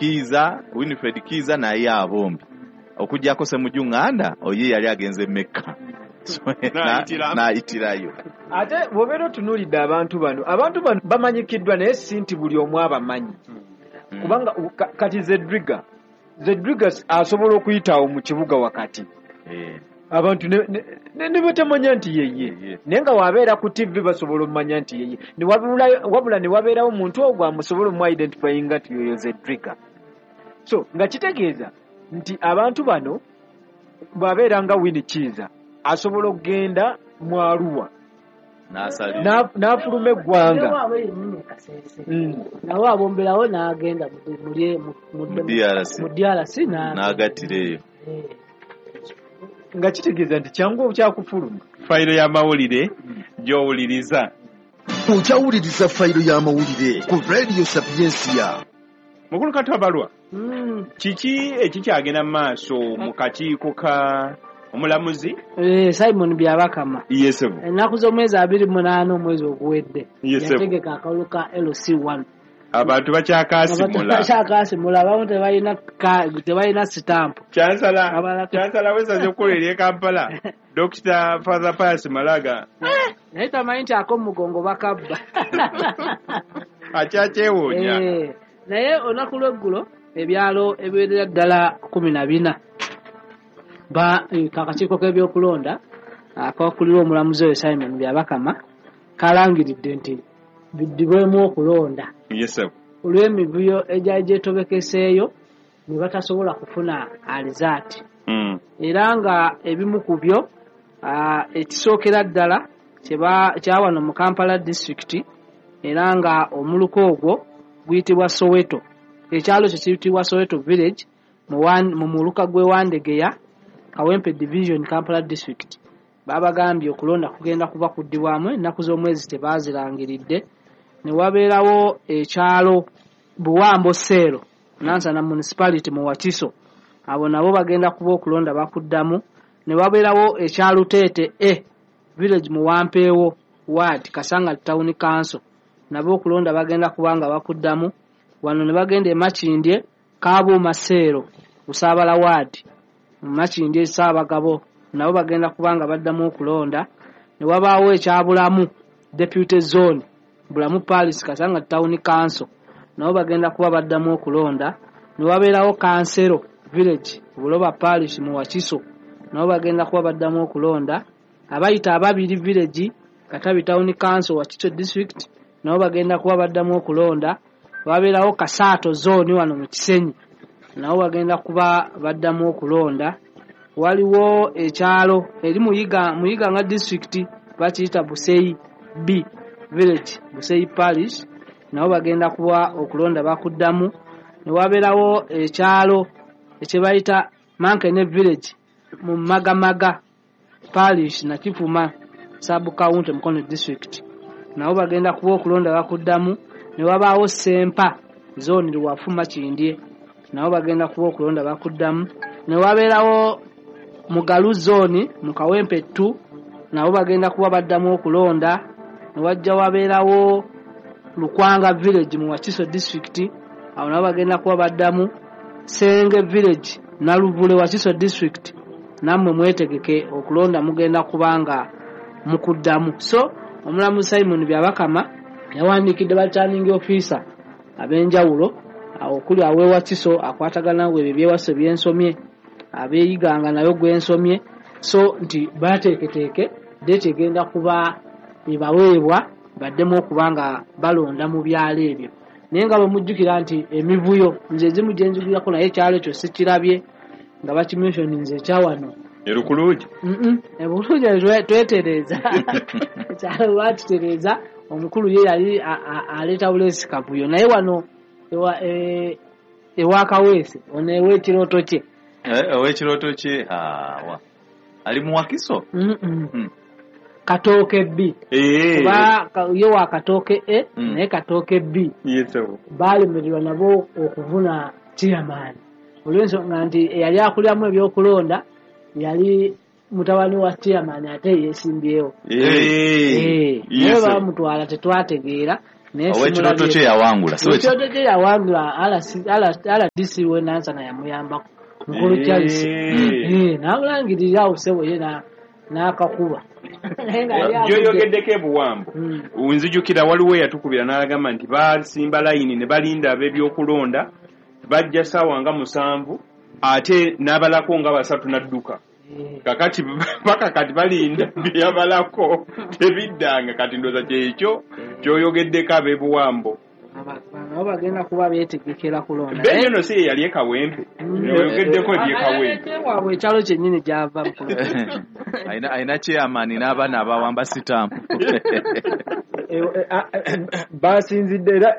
Kiiza, Winfred Kiiza naye abombi okuggyako Ssemujju Nganda oye yali agenze Mecca. So, n'ayitirayo. Ate bw'obeera otunuulidde abantu bano, abantu bano bamanyikiddwa naye si nti buli omu abamanyi. Kubanga kati Zedriga asobola okuyitawo mu kibuga wakati. Abantu ne batamanya nti yeye. Naye nga wabeera ku TV basobola okumanya nti yeye. Wabula ne wabeerawo omuntu ogwo amusobola omu-identifyinga nti yoyo Zedriga. So nga kitegeeza nti abantu bano bw'abeera nga Winnie Kiiza asobola okugenda mu Arua n'afuluma eggwanga. Nawe abomberawo n'agenda mu DRC n'agattireyo. Nga kitegeeza nti kyangu kyakufuluma. Fayiro y'amawulire gy'owuliriza. Okyawuliriza fayiro y'amawulire ku Radio Sapiensia. Mukulu Katabalwa, kiki ekikyagenda mu maaso mu kakiiko ka omulamuzi Simon Byabakama? Yesebo. Ennaku z'omwezi 28 omwezi oguwedde yategeka akalulu ka LC1. Abantu bakyakaasimula. Abamu tebalina sitampu. Chansala w'essaza ekkulu ery'e Kampala, Dr. Father Pius Malaga. Naye tamanyi nti ak'omugongo bakabba. Akyakyewuunya. Naye olunaku lw'eggulo ebyalo ebiwerera ddala 14 akakiiko k'ebyokulonda akakulirwa omulamuzi oyo Simon Byabakama kalangiridde nti biddibwemu okulonda. Olw'emivuyo egyali gyetobekeseeyo ne batasobola kufuna alizaati. Era nga ebimu ku byo ekisookera ddala kyawano mu Kampala district, era nga omuluka ogwo guyitibwa Soweto. Ekyalo kye kiyitibwa Soweto village mu muluka gw'e Wandegeya, Kawempe division, Kampala district. Babagambye okulonda kugenda kuba kuddibwamu ennaku z'omwezi tebaazirangiridde. Ne wabeerawo ekyalo Buwambo Seero, Nansana municipality mu Wakiso, abo nabo bagenda kuba okulonda bakuddamu. Ne wabeerawo ekyalo Teete A village mu Wampeewo ward, Kasanga town council, nabo okulonda bagenda kuba nga bakuddamu. Wano ne bagenda e Makindye, Kabuuma Seero, Busaabala ward, Makindye Ssaabagabo, nabo bagenda kuba nga baddamu okulonda. Ne wabaawo ekyabulamu deputy zone, Bulamu Palace, Kasanga town council, nabo bagenda kuba baddamu okulonda. Ne wabeerawo Kansero village, Buloba parish mu Wakiso, nabo bagenda kuba baddamu okulonda. Abayita Ababiri village, Katabi town council, Wakiso district, nabo bagenda kuba baddamu okulonda. Wabeerawo Kasaato zone wano mu Kisenyi, nabo bagenda kuba baddamu okulonda. Waliwo ekyalo eri Muyiga nga district bakiyita Buseyi B village, Buseyi parish, nabo bagenda kuba okulonda bakuddamu. Ne wabeerawo ekyalo ekyebayita Mankene village mu Magamaga parish, Nakifuma sub county, Mukono district, nabo bagenda kuba okulonda bakuddamu. Ne wabaawo Sempa zone Luwafu Makindye, nabo bagenda kuba okulonda bakuddamu. Ne wabeerawo Mugalu zone mu Kawempe 2, nabo bagenda kuba baddamu okulonda. Ne wajja wabeerawo Lukwanga village mu Wakiso district, awo nabo bagenda kuba baddamu. Senge village Naluvule Wakiso district, nammwe mwetegeke okulonda mugenda kubanga mukuddamu. So omulamuzi Simon Byabakama yawandiikidde ba returning officer ab'enjawulo okuli aw'ewakiso akwatagana ebyo ebyewakiso byensomye, abeeyiganga nayo gwensomye, so nti bateeketeeke date egenda kuba ebaweebwa baddemu okuba nga balonda mu byalo ebyo. Naye nga bwe mujjukira nti emivuyo nze ezimu gye nzigulirako naye ekyalo ekyo sikirabye nga bakimensioninze ekyawano Erukulugi. Ebulugi twetereeza. Ekyalo baakitereeza, omukulu ye yali aleeta buleesi kavuyo, naye wano ewa Kaweesi ono ew'ekirooto kye. Ow'ekirooto kye ali mu Wakiso? Katooke B. Kuba ye wa Katooke A, naye Katooke B. Baalemererwa nabo okuvuna chairman olw'ensonga nti eyali akuliramu ebyokulonda yali mutabani wa chairman ate yeesimbyewo. Naye bamutwala tetwategeera, Ow'ekirooto kye yawangula. Ekirooto kye yawangula RDC we Nansana yamuyambako. Mukulu Charles. N'amulangirira awo ssebo ye n'akakuba. Gyoyogeddeko ebuwambo. Nzijukira waliwo eyatukubira n'agamba nti basimba layini ne balinda ab'ebyokulonda bajja ssaawa nga 7 ate n'abalako nga 3 n'adduka. Kakati paka kati balinda byabalako tebiddanga. Kati ndowooza kyekyo kyoyogeddeko ab'ebuwambo. Nabo bagenda kuba beetegekera kulonda. Benyo no si yali e Kawempe. Yogeddeko eby'e Kawempe. Waabwe ekyalo kyennyini gy'ava mu kulonda. Alina chairman n'abaana abawamba sitampu. Basinzidde era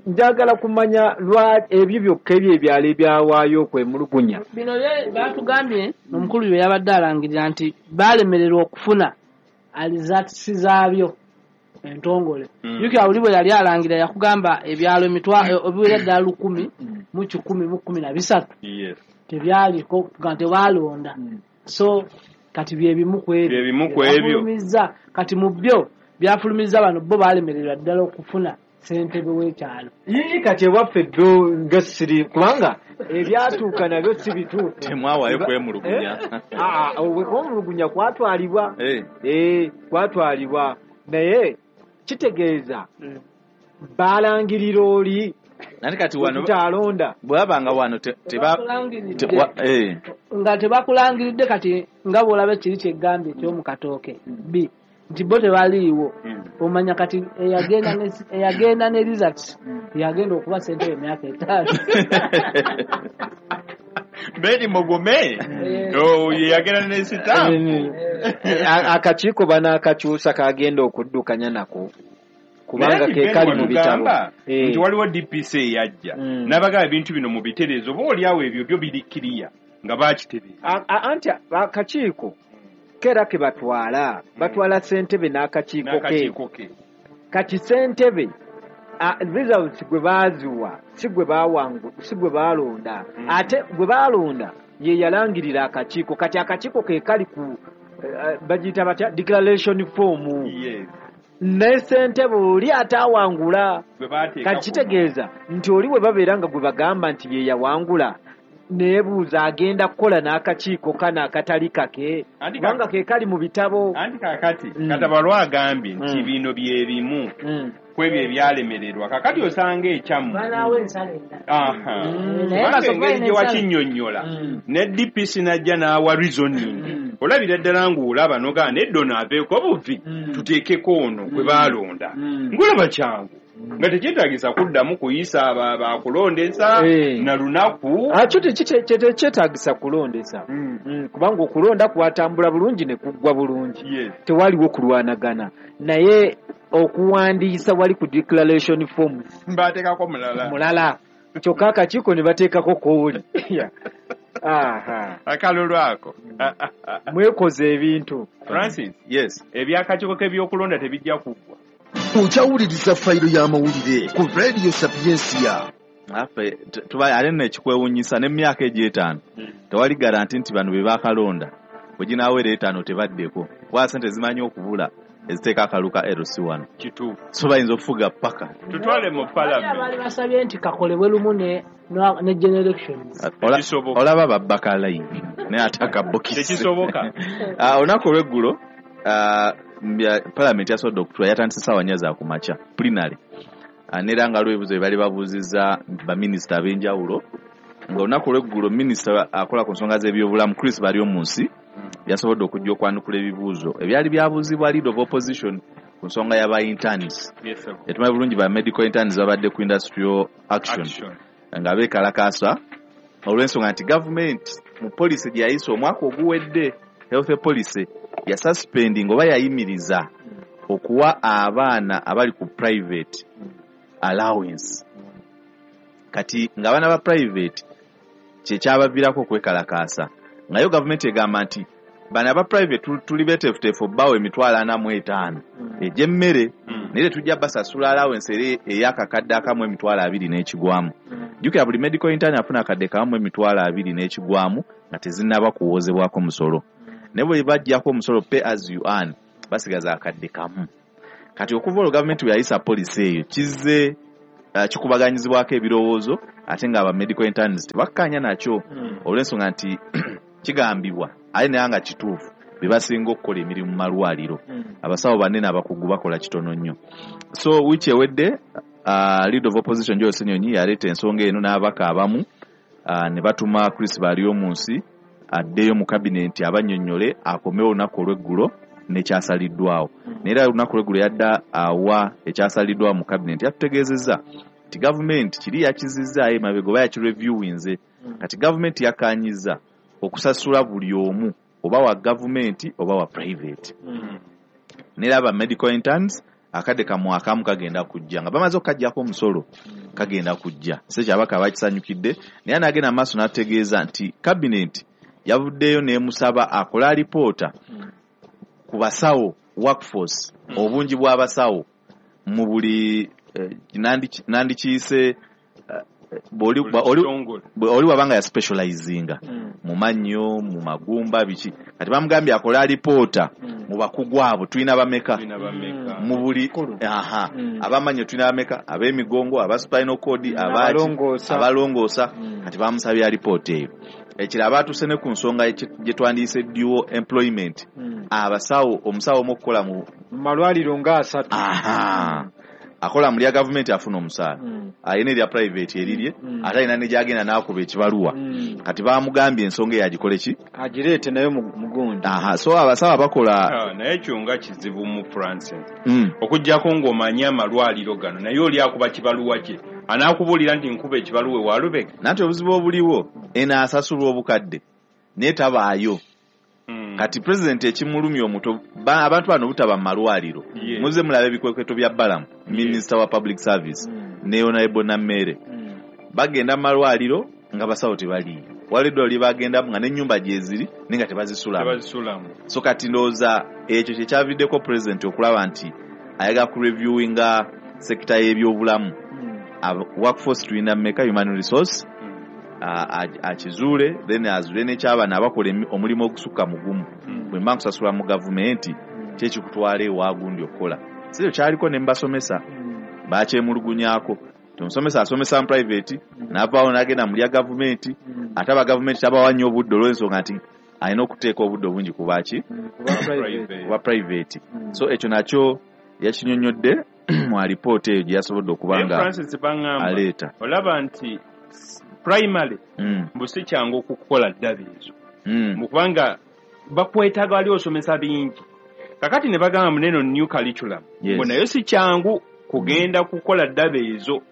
njagala kumanya lwa ebyo byokka ebyo ebyalo ebyawaayo okwemulugunya. Bino batugambye omukulu bye yabadde alangirira nti balemererwa okufuna alizatisi zaabyo entongole. Jjukira buli bwe yali alangira yakugamba ebyalo ebiwera ddala 1,000 mu 1,013. Yes. Tebyaliko nga tebalonda. So kati bye bimu ku ebyo. Bye bimu ku ebyo. Kati mu byo byafulumiza bano bo balemererwa ddala okufuna ssentebe w'ekyalo. Yii kati ewaffe byo nga siri kubanga ebyatuuka nabyo si bituufu. Temwawaayo kwemulugunya. Okwemulugunya kwatwalibwa. Kwatwalibwa. Naye kitegeeza balangirira oli nani kati wano tutalonda bw'abanga wano nga tebakulangiridde. Kati nga bw'olaba kiri kyegambye eky'omu Katooke B nti bo tebaliiwo. Omanya kati eyagenda ne results yagenda okuba ssentebe emyaka 5. Beni Mugume yagenda ne sitampu. Akakiiko banaakakyusa kagenda okuddukanya nako kubanga ke kali mu bitabo nti waliwo DPC eyajja n'abagaba ebintu bino mu biterezo oba oliawo ebyo byo biri kiriya nga bakitereeza. Anti akakiiko kera ke batwala ssentebe n'akakiiko ke. Kati ssentebe results gwe baaziwa si gwe bawangu si gwe baalonda. Ate gwe baalonda ye yalangirira akakiiko. Kati akakiiko ke kali ku bagiyita batya declaration form. Yes. Ne ssentebe oli atawangula. Kati kitegeeza nti oli we babeera nga gwe bagamba nti ye yawangula neebuuza agenda kukola n'akakiiko kano akatali kake kubanga ke kali mu bitabo. Anti kakati Katabalwa agambye nti bino bye bimu ku ebyo ebyalemererwa. Kakati osanga ekyammwe banaawo ensala endala engeri gye wakinnyonnyola ne DPC n'ajja n'awa reasoning olabira ddala ng'olaba n'ogamba nedda ono aveeko buvi tuteekeko ono gwe baalonda ng'olaba kyangu nga tekyetaagisa kuddamu kuyisa bakulondesa na lunaku. Akyo tekyetaagisa kulondesa kubanga okulonda kwatambula bulungi ne kuggwa bulungi, tewaliwo kulwanagana. Naye okuwandiisa wali ku declaration forms bateekako mulala kyokka akakiiko ne bateekako kooli. Akalulu ako mwekoze ebintu. Francis, yes, ebyakakiiko k'ebyokulonda tebijja kuggwa. Okyawuliriza fayiro y'amawulire ku Radio Sapiensia. Affe tuba ate nno ekikwewuunyisa n'emyaka egyo 5 tewali garanti nti bano be baakalonda bwe ginaawera 5 tebaddeko kuba ssente zimanyi okubula eziteeka akalu ka LC1. Kituufu. So bayinza okufuga paka tutwale mu parliament. Abaali basabye nti kakolebwe lumu ne generations. Olaba babbaka layini naye ate akabokisi tekisoboka. Olunaku olw'eggulo Parliament yasobodde okutula yatandise ssaawa 4 za kumakya plenary nera nga lwebuzo bali babuuzizza baminisita ab'enjawulo. Nga olunaku olw'eggulo minisita akola ku nsonga z'ebyobulamu Chris Baryomunsi yasobodde okujja okwanukula ebibuuzo ebyali byabuuzibwa leader of opposition ku nsonga y'aba interns. Etumanyi bulungi ba medical interns babadde ku industrial action nga beekalakaasa olw'ensonga nti gavumenti mu policy gye yayisa omwaka oguwedde health policy yasuspending oba yayimiriza okuwa abaana abali ku private allowance. Kati ng'abaana ba private kyekyabaviirako okwekalakaasa, nga yo gavumenti egamba nti bano aba private tuli beeteefuteefu obbawo 45,000 egy'emmere naye tetujja basasula allowance eri ey'akakadde akamu 20,000 n'ekigwamu. Jjukira buli medical intern afuna akadde kamu 20,000 n'ekigwamu nga tezinnaba kuwoozebwako musolo. Naye bwe bajjako omusolo pay as you earn basigaza akadde kamu. Kati okuva olwo gavumenti bwe yayisa policy eyo kizze kikubaganyizibwako ebirowoozo, ate nga aba medical interns tebakkaanya nakyo, olw'ensonga nti kigambibwa ate naye nga kituufu be basinga okukola emirimu mu malwaliro. Abasawo banene abakugu bakola kitono nnyo. So wiiki ewedde leader of opposition Joel Ssenyonyi yaleeta ensonga eno n'ababaka abamu, ne batuma Chris Baryomunsi addeyo mu kabinenti abannyonnyole, akomewo olunaku olw'eggulo n'ekyasaliddwawo. Naye era olunaku olw'eggulo yadda awa ekyasaliddwawo mu kabinenti, yatutegeezezza nti gavumenti kiri yakizizzaayo emabega oba yakireviewinze. Kati gavumenti yakkaanyizza okusasula buli omu, oba wa gavumenti oba wa private. N'era aba medical interns akadde kamwakamu kagenda kujja nga bamaze okukaggyako omusolo, kagenda kujja. So ekyo ababaka bakisanyukidde, naye n'agenda mu maaso n'ategeeza nti kabinenti yavuddeyo n'emusaba akole alipoota ku basawo workforce, obungi bw'abasawo mu buli nandikiyise oli wabanga ya specializinga mu mannyo, mu magumba, biki. Kati bamugambye akole alipoota mu bakugu abo tulina bameka mu buli abamannyo tulina bameka, ab'emigongo, aba spinal cord, abalongoosa. Kati bamusabye alipoota eyo. Ekirala baatuuse ne ku nsonga gye twandiyise dual employment, abasawo, omusawo omu okukola mu malwaliro nga 3. Akola mu lya gavumenti afuna omusaala, alina erya private erirye, ate alina ne gy'agenda n'akuba ekibaluwa. Kati bamugambye ensonga eyo agikole ki, agireete nayo mugundi. So abasawo abakola naye ekyo nga kizibu mu Francis, okuggyako ng'omanyi amalwaliro gano, naye oli akuba kibaluwa kye anaakubuulira nti nkuba ekibaluwa ewa Lubega. Nanti obuzibu obuliwo, eno asasulwa obukadde naye tabaayo. Kati pulezidenti ekimulumya omuto, abantu bano butaba mu malwaliro. Muze mulaba ebikwekweto bya Balamu, minisita wa public service, ne Honorable Nammere. Bagenda mu malwaliro nga basawo tebaliiyo. Waliwo eddwaliro lye bagendamu nga n'ennyumba gye ziri naye nga tebazisulamu. So kati ndowooza ekyo kye kyaviddeko pulezidenti okulaba nti ayagala ku reviewinga sekita y'ebyobulamu. Workforce tulina mmeka, human resource, akizuule, then azuule n'eky'abaana abakola omulimu ogusukka mugumu. Bwe mba nkusasula mu gavumenti, ki ekikutwala ewa gundi okukola? Si ekyo kyaliko ne mbasomesa, bakyemulugunyaako. Omusomesa asomesa mu private, n'avaawo n'agenda mu lya gavumenti, ate aba gavumenti tabawa nnyo obudde olw'ensonga nti alina okuteeka obudde obungi ku baki? Kuba private. So ekyo nakyo yakinyonnyodde mu alipoota eyo gye yasobodde okuba nga aleeta. Olaba nti primary mbu si kyangu okukola ddabi ezo, kubanga bakwetaaga wali osomesa bingi. Kakati ne bagamba muneno new curriculum, mbu nayo si kyangu kugenda kukola ddabi ezo.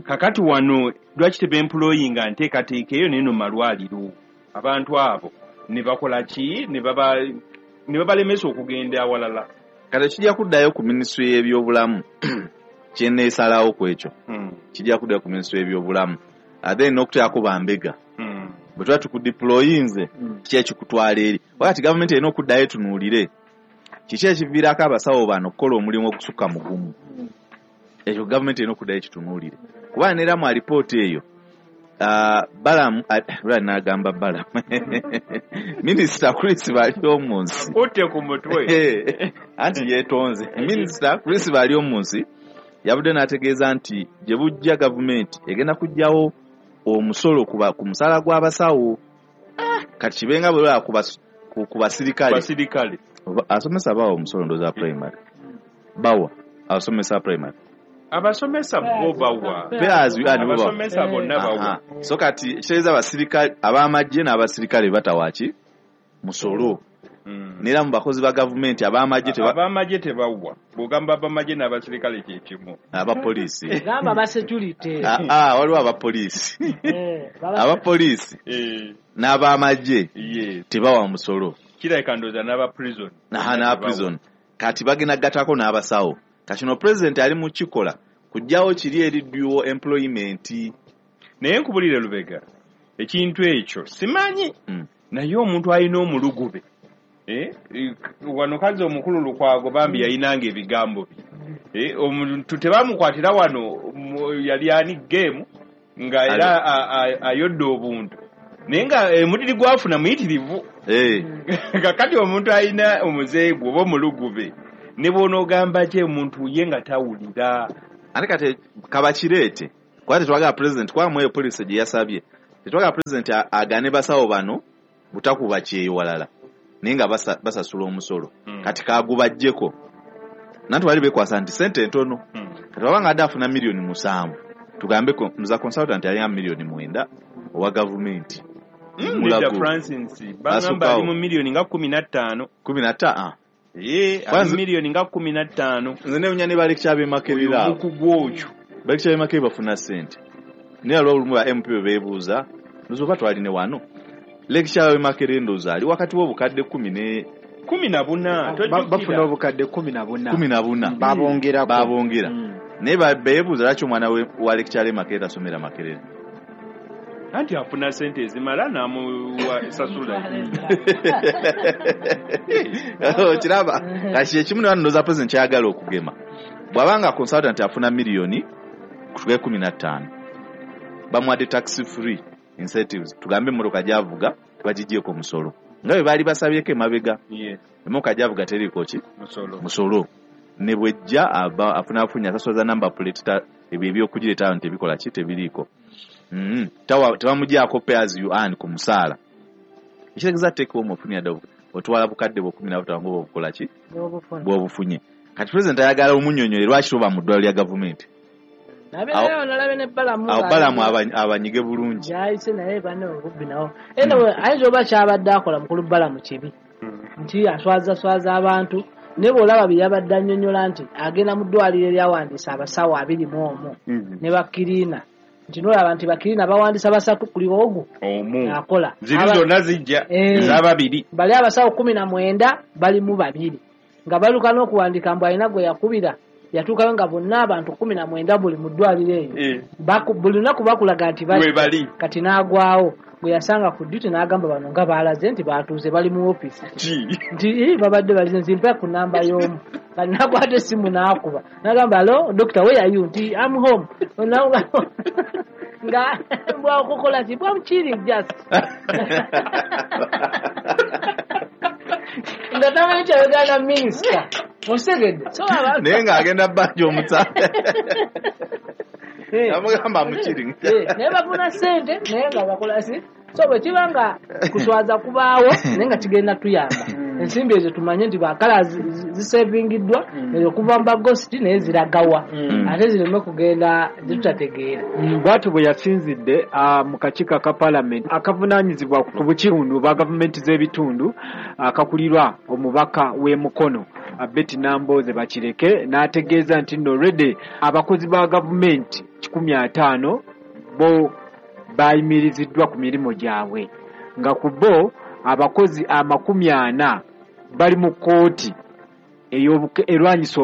Kakati wano lwaki tebemployinga nteekateeka eyo neno malwaliro, abantu abo ne bakola ki, ne babalemesa okugenda awalala. Kati kijja kuddayo ku minisitule y'ebyobulamu, kye neesalawo ku ekyo. Kijja kuddayo ku minisitule y'ebyobulamu, ate n'okuteekako bambega. Bwe tuba tukudeployinze, kiki ekikutwala eri? Wakati gavumenti erina okuddayo etunuulire kiki ekiviirako abasawo bano okukola omulimu ogusukka mugumu. Ekyo gavumenti erina okuddayo ekitunuulire. Kuba neera mu alipoota eyo, Balamu, n'agamba Balamu, Minisita Chris Baryomunsi. Kutte ku mutwe. Anti yeetonze. Minisita Chris Baryomunsi yavudde n'ategeeza nti gye bujja gavumenti egenda kuggyawo omusolo ku musaala gw'abasawo. Kati kibenga bwe balaba ku basirikale. Asomesa bawa omusolo ndowooza primary. Bawa abasomesa primary. Abasomesa bo bawa. Abasomesa bonna bawa. So kati kitegeeza abasirikale ab'amagye n'abasirikale batawa ki? Musolo. N'era mu bakozi ba gavumenti ab'amagye tebawa. Bw'ogamba ab'amagye n'abasirikale kye kimu. Abapoliisi. Gamba aba security. Waliwo abapoliisi. Abapoliisi n'ab'amagye tebawa musolo. Kirabika ndowooza n'aba prison. N'aba prison. Kati bagenda gatako n'abasawo. Kati no president ali mu kikola kujjawo kiri eri dual employment. Naye nkubulire Lubega, ekintu ekyo simanyi. Naye omuntu alina omulugube. Wano kazi omukulu Lukwago bambi yayinanga ebigambo bye. Omuntu tebamukwatira wano yali ani game nga era ayodde obuntu. Naye nga omudiri gwafuna muyitirivu. Kakati omuntu alina omuzeegu oba omulugube. Ne bw'onoogamba ki omuntu ye nga tawulira. Ate kati kabakireete kuba tetwagala president, kuba mu eyo policy gye yasabye tetwagala president agane basawo bano butakuba kyeyo walala, naye nga basasula omusolo. Kati kagubajjeko nanti bali bekwasa nti sente ntono. Kati wabanga adde afuna 7 million, tugambe muza consultant alina 9 million owa gavumenti. Nedda. Mulago. Francis, bagamba ali mu miliyoni nga 15. 15? Ee, ali miliyoni nga 15. Nze newunya ne balekya b'e Makerere abo. Omukugu okyo. Balekya b'e Makerere bafuna sente, naye aliwo olumu ba MP bwe beebuuza, ndowooza oba twaline wano lecturer w'e Makerere, ndowooza ali wakati w'obukadde 10 ne 14. Bafuna Tojjukira? obukadde 14. 14. Babongerako. Babongera. Naye beebuuza lwaki omwana wa lecturer e Makerere tasomera Makerere. Anti afuna sente ezimala n'amuwa sasula. Okiraba, kati ekimu ne wano ndowooza president kyayagala okugema, bw'abanga consultant afuna miliyoni kutugae 15, bamuwadde tax free incentives, tugambe emmotoka gy'avuga tebagigyeko omusolo nga bwe baali basabyeko emabega. Emmotoka gy'avuga teriiko ki? Musolo. Musolo. Ne bwejja aba afuna afunye asasula za number plate, ebyo ebyokugireeta awo tebikola ki, tebiriiko. Tebamugyako pay as you earn ku musaala, ekitegeeza take home ofunira ddala otwala bukadde bwo 15 nga obukola ki? N'obufuna. Bw'obufunye. Kati president ayagala omunnyonnyole lwaki toba mu ddwaliro lya gavumenti. Nabeerayo nalabe ne Balamu. Awo Balamu abanyige bulungi. Gyayise naye banne obubbi nawo. Anyway, ayinza oba kyabadde akola mukulu Balamu kibi nti aswazaswaza abantu, naye bw'olaba bye yabadde annyonnyola nti agenda mu ddwaliro eryawandiisa abasawo 21 ne bakiriina, nti nolaba nti bakiriina bawandiisa basatu kuli ogwo omu akola. Ziri zonna zijja ez'ababiri. Bali abasawo 19 balimu babiri nga baluka n'okuwandiika mbu alina gwe yakubira yatuukayo nga bonna abantu 19 buli mu ddwaliro eyo. Buli lunaku bakulaga nti bali We bali. Kati n'agwawo gwe yasanga ku duty n'agamba bano nga baalaze nti batuuze bali mu ofiisi Ki? nti "Ii, babadde balize nti mpa ku namba y'omu." Kati nakwata essimu n'akuba n'agamba, "Hello doctor, where are you?" Nti, "I'm home." Nga bwakukola ki, "I'm chilling just," nga tamanyi kyayogana minisita, osegedde? So abantu Naye ng'agenda bbanja omusaala. Amugamba mukiri. Naye bafuna ssente naye nga bakola si. So bwe kiba nga kuswaza kubaawo naye nga kigenda tuyamba, ensimbi ezo tumanye nti bakala zisevingiddwa ezo kuva mu bagositi naye ziragawa ate zireme kugenda zitutategeera. Bw'atyo bwe yasinzidde mu kakiiko aka paalamenti akavunaanyizibwa ku bukitundu bwa gavumenti z'ebitundu akakulirwa omubaka w'e Mukono Betty Nambooze Bakireke, n'ategeeza nti nno already abakozi ba gavumenti 150 bo bayimiriziddwa ku mirimu gyabwe, nga ku bo abakozi 40 bali mu kkooti erwanyisa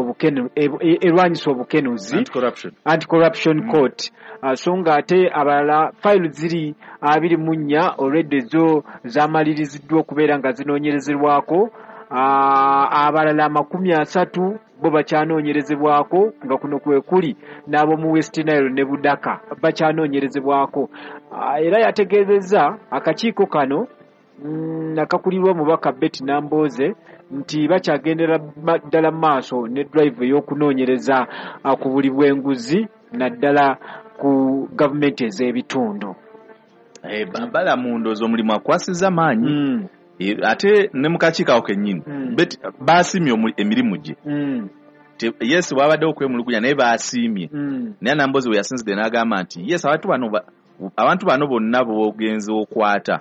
obukenuzi. Anti-corruption. Anti-corruption court. So nga ate abalala fayiro ziri 24 already zo zamaliriziddwa okubeera nga zinoonyerezebwako. Abalala 30 bo bakyanoonyerezebwako, nga kuno kwe kuli n'ab'omu West Nile ne Budaka bakyanoonyerezebwako. Era yategeezezza akakiiko kano akakulirwa omubaka Betty Nambooze nti bakyagendera ddala mu maaso ne drive ey'okunoonyereza ku buli bw'enguzi naddala ku gavumenti ez'ebitundu. Balamu ndowooza omulimu akwasizza maanyi. Ate ne mu kakiiko ako kennyini baasiimye emirimu gye. Yes, wabaddewo okwemulugunya naye baasiimye. Naye Nambooze bwe yasinzidde n'agamba nti yes, abantu bano bonna b'ogenze okwata,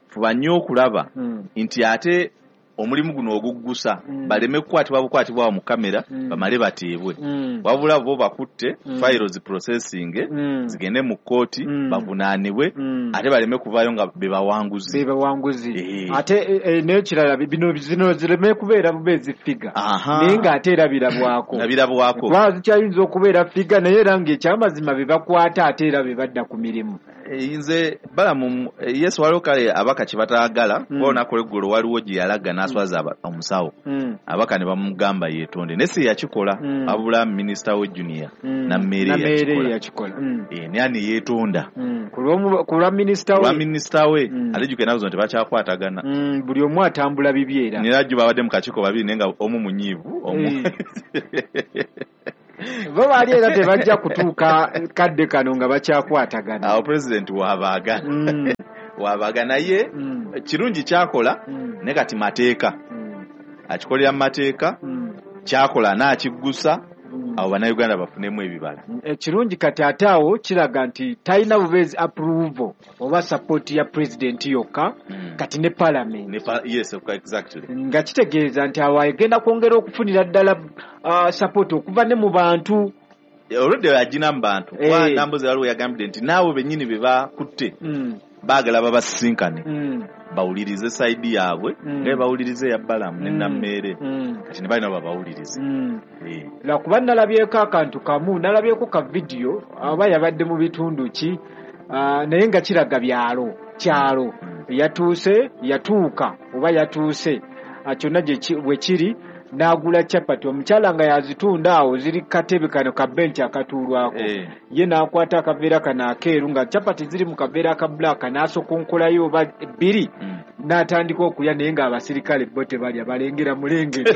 fuba nnyo okulaba nti ate omulimu guno oguggusa baleme kukwatibwa bukwatibwa awo mu kamera bamale bateebwe, wabula bo bakutte fayiro ziprocessing zigende mu kkooti bavunaanibwe ate baleme kuvaayo nga be bawanguzi. Bebawanguzi. Ate n'ekirala bino zino zireme kubeera bubeezi figure naye ng'ate era birabwako. Nga birabwako. Kuba zikyayinza okubeera figure naye era ng'ekyamazima be bakwata ate era be badda ku mirimu. Nze Balamu, yes, waliwo kale abaka kye bataagala, kuba olunaku olweggulo waliwo gye yalaga n'aswaza omusawo, abaka ne bamugamba yeetonde, naye si yakikola, wabula minisita we Junior Nammeere yakikola, naye ne yeetonda ku lwa minisita we. Ate jjukira ennaku zino tebakyakwatagana, buli omu atambula bibye, era nera jjo babadde mu kakiiko babiri naye nga omu munyiivu omu bo baali era tebajja kutuuka kadde kano nga bakyakwatagana. Awo pulezidenti wabaaga wabaaga, naye kirungi kyakola, naye kati mateeka akikolera mu mateeka, kyakola n'akiggusa, awo bannayuganda bafunemu ebibala. Ekirungi kati ate awo kiraga nti talina bubeezi approval oba support ya pulezidenti yokka, kati ne parliament. Yes, exactly. Nga kitegeeza nti awo agenda kwongera okufunira ddala support okuva ne mu bantu. Olwedde yagina mu bantu, kuba Nambooze waliwo yagambidde nti naawe bennyini be bakutte baagala babasisinkane, bawulirize sayidi yaabwe, nga bawulirize eya Balamu ne Nammeere, kati ne balina babawulirize. Lwakuba nalabyeko akantu kamu, nalabyeko ka vidiyo oba yabadde mu bitundu ki, naye nga kiraga byalo kyalo, yatuuse yatuuka oba yatuuse kyonna bwe kiri, n'agula chapati, omukyala nga yazitunda awo ziri katebe kano ka bench akatuulwako, ye n'akwata akaveera kano akeeru nga chapati ziri mu kaveera aka black, n'asokonkolayo oba bbiri, n'atandika okulya, naye ng'abasirikale bo tebalya, balengera mulengere.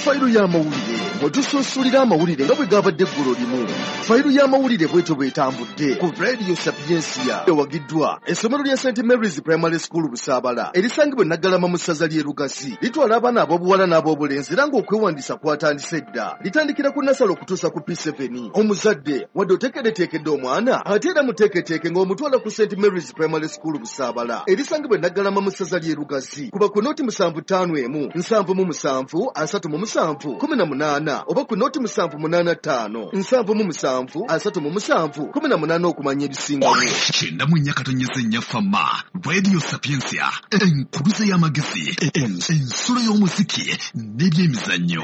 Fayiro y'amawulire mwe tusunsulira amawulire nga bwe gabadde eggulo limu. Fayiro y'amawulire bwetyo bw'etambudde ku Radio Sapiensia, ewagiddwa essomero lya St Mary's Primary School Busaabala erisangibwa e Naggalama mu ssaza ly'e Lugazi. Litwala abaana ab'obuwala n'ab'obulenzi era ng'okwewandiisa kwatandise dda. Litandikira ku nursery okutuusa ku P7. Omuzadde wadde oteekeddeteekedde omwana, ate era muteeketeeke ng'omutwala ku St Mary's Primary School Busaabala erisangibwa e Naggalama mu ssaza ly'e Lugazi. Kuba ku 075 177 37 18 oba ku 078 77 37 18 okumanya ebisingawo. 94.4 Fama Radio Sapiensia, enkuluze y'amagezi, ensulo y'omuziki n'ebyemizannyo.